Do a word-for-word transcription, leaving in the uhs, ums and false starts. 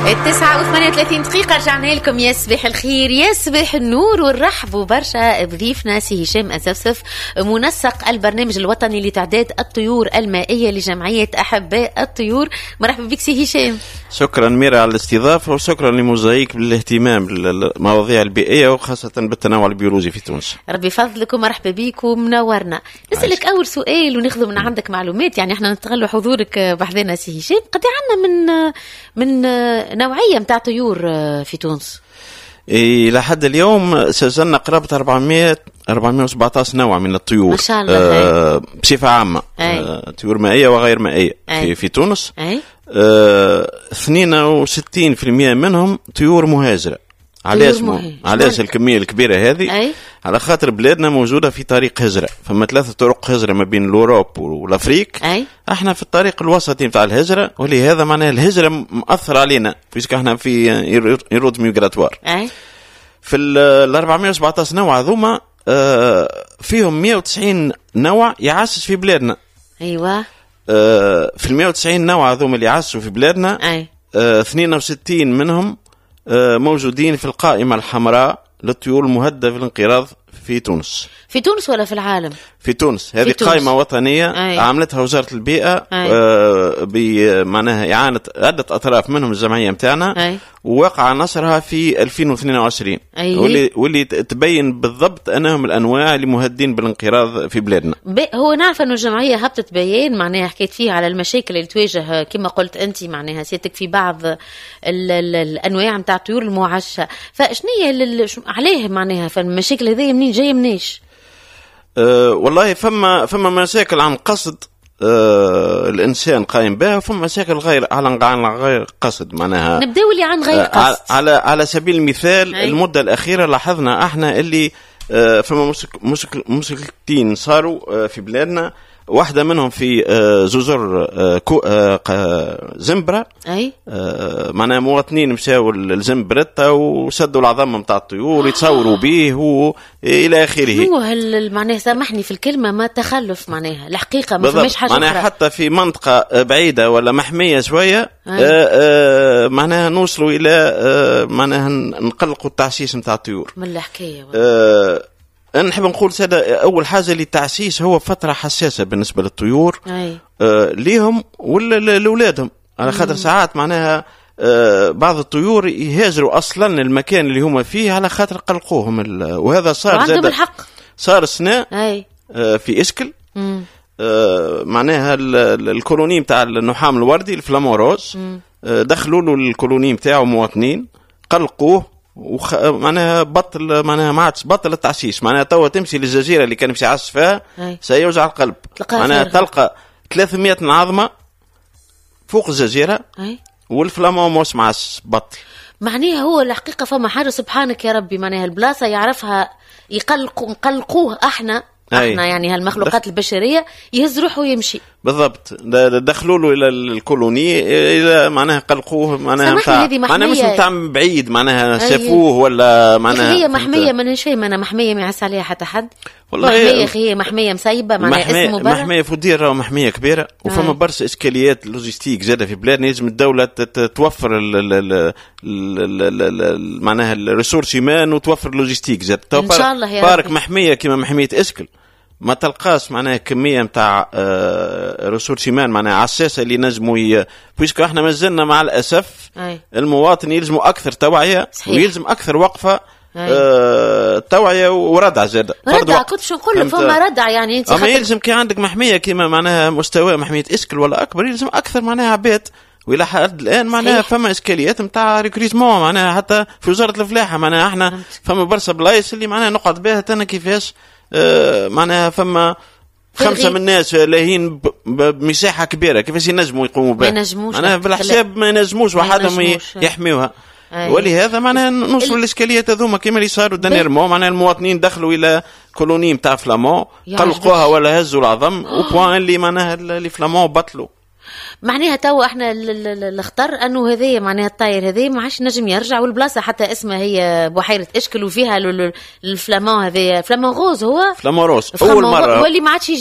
التسعة وثمانية وثلاثين دقيقة، رجعنا لكم. يا صباح الخير، يا صباح النور، ونرحبوا برشا بضيفنا سي هشام أسفسف، منسق البرنامج الوطني لتعداد الطيور المائية لجمعية أحباء الطيور. مرحبا بك سي هشام. شكرا ميرا على الاستضافة وشكرا لموزايك بالاهتمام بالمواضيع البيئية وخاصة بالتنوع البيولوجي في تونس. ربي يفضلك ومرحبا بك ومنورنا. نسألك أول سؤال وناخذ من عندك معلومات، يعني احنا نستغلوا حضورك بحذانا سي هشام. قد عندنا من من نوعية متاع طيور في تونس؟ إلى حد اليوم سجلنا قرابة أربعمية أربعمية وسبعطاش نوع من الطيور. ما شاء الله. آه بصفة عامة آه طيور مائية وغير مائية في, في تونس. أي. آه اثنين وستين في المية منهم طيور مهاجرة. علاش مو... علاش الكمية الكبيرة هذه؟ أي؟ على خاطر بلادنا موجودة في طريق هجره، فما ثلاثة طرق هجره ما بين l'Europe و l'Afrique. أي؟ احنا في الطريق الوسطي نتاع الهجره، ولهذا معناها الهجرة مأثر علينا puisque احنا في route migratoire. أي؟ في ال أربعمية وسبعطاش نوع هذوما آه، فيهم مية وتسعين نوع يعشش في بلادنا. ايوه آه، في ال مية وتسعين نوع هذوما اللي يعششوا في بلادنا، أي. آه، اثنين وستين منهم آه، موجودين في القائمة الحمراء للطيور المهددة في الانقراض في تونس. في تونس ولا في العالم؟ في تونس. هذه تونس. قائمة وطنية أي. عملتها وزارة البيئة أي. آه بمعناها إعانة عدة أطراف منهم الجمعية متاعنا، أي. ووقع نشرها في ألفين واثنين وعشرين، أي. واللي واللي تبين بالضبط أنهم الأنواع اللي مهددين بالانقراض في بلادنا. هو نعرف أنه الجمعية هبطت بيان معناها حكيت فيه على المشاكل اللي تواجه كما قلت أنت معناها سيادتك في بعض ال ال الأنواع نتاع الطيور المعشة، فشنية عليه معناها فالمشاكل هذه منين جاية منيش؟ أه والله فما فما مشاكل عن قصد آه الانسان قايم بها، وفما مشاكل غير على عن غير قصد معناها. نبداو اللي عن غير آه قصد. على على سبيل المثال، أي. المدة الاخيرة لاحظنا احنا اللي آه فما مشك مشك مشكلتين صاروا آه في بلادنا، واحدة منهم في آه جزر آه كو آه ق- زنبرة. اي آه، معناها مواطنين مشاو لزنبرتا وشدوا العظم نتاع الطيور يتصوروا به والى اخره. شنو هال معناها، سامحني في الكلمه، ما تخلف معناها الحقيقة ما بالضبط. فماش حاجة معناها اخرى. حتى في منطقة بعيدة ولا محمية شوية أي. آه آه معناها نوصلوا إلى آه معناها نقلقوا التعشيش نتاع الطيور. من الحكاية والله. آه أنا نحب نقول سادة، أول حاجة اللي التعشيش هو فترة حساسة بالنسبة للطيور اي آه ليهم ولا ل- لأولادهم، على خاطر ساعات معناها آه بعض الطيور يهاجروا أصلا المكان اللي هما فيه على خاطر قلقوهم ال- وهذا صار وعندهم زاد الحق. صار السنة اي آه في إسكل. مم. آه، معناها ال- ال- ال colonie نتاع النحام الوردي ال flamant rose، آه، دخلوا له ال colonie نتاعو مواطنين، قلقوه وخ... معناها بطل، معناها ما عادش، بطل التعشيش. معناها توا تمشي للجزيرة اللي كان يمشي يعش فيها أي. سيوجع القلب. تلقاها معناها فارغة. تلقى ثلاثمية عظمه فوق الجزيرة اي وال flamant موش معش، بطل. معناها هو الحقيقة فما حاجه، سبحانك يا ربي، معناها البلاصة يعرفها، يقلقوا نقلقوه احنا أي. احنا يعني هالمخلوقات البشريه، يهز روحه ويمشي. بالضبط، د- دخلوا له الى ال colonie الى معناها قلقوه معناها سامحني، متاع هذه معناها مش محمية. نتاع بعيد معناها أي. شافوه ولا معناها هي محميه، ما فاهمه انا، محمية ما يعس عليها حتى حد. والله محمية هي- اخي هي محمية مسيبه معناها محمية اسمه برا. محمية فودير راهو محمية كبيرة، وفما أي. برشا اشكاليات logistiques زاده في بلادنا. لازم الدولة تت- توفر ال ال ال ال ال ال معناها ال ressources humaines وتوفر logistique زاد. إن شاء الله يا parc ربي. محمية كما محمية اسكل ما تلقاش معناها كمية نتاع ressources humaines معناها عساسه اللي نجموا ي... puisque احنا مازلنا مع الاسف أي. المواطن يلزموا اكثر توعيه صحيح. ويلزم اكثر وقفه. أي. آه توعيه وردع زاد. فرد ردع وقت. كنت شو نقول لك، فهمت؟ فما ردع يعني انت اما خاطر- يلزم كي عندك محمية كيما معناها مستوى محمية اسكل ولا اكبر، يلزم اكثر معناها عباد، والى حد الان معناها صحيح. فما اشكاليات نتاع recrutement معناها حتى في وزارة الفلاحه. معناها احنا فهمت. فما برشا بلايص اللي معناها نقعد بها انا كيفاش آه معناها فما خمسة فارغين. من الناس لاهين ب- ب- بمساحة كبيره، كيفاش ينجموا يقوموا بها؟ ما ينجموش. معناها بالحساب ما ينجموش ما وحدهم ي- ينجموش. يحميوها. أي. ولهذا معناها نوصلوا ال- للاشكاليات هذوما كيما اللي صاروا dernièrement، معناها المواطنين دخلوا الى colonie نتاع flamants يا قلقوها عجبك. ولا هزوا العظم au point اللي معناها les flamands بطلوا. معناها تو احنا ال- ال- ال- الخطر انه هذايا معناها الطاير هذايا ما عادش نجم يرجع، والبلاصه حتى اسمها هي بحيرة اشكل وفيها ال- ال- ال flamant هذايا، flamant rose هو. flamant rose flamant اول مره واللي ما عادش يجي.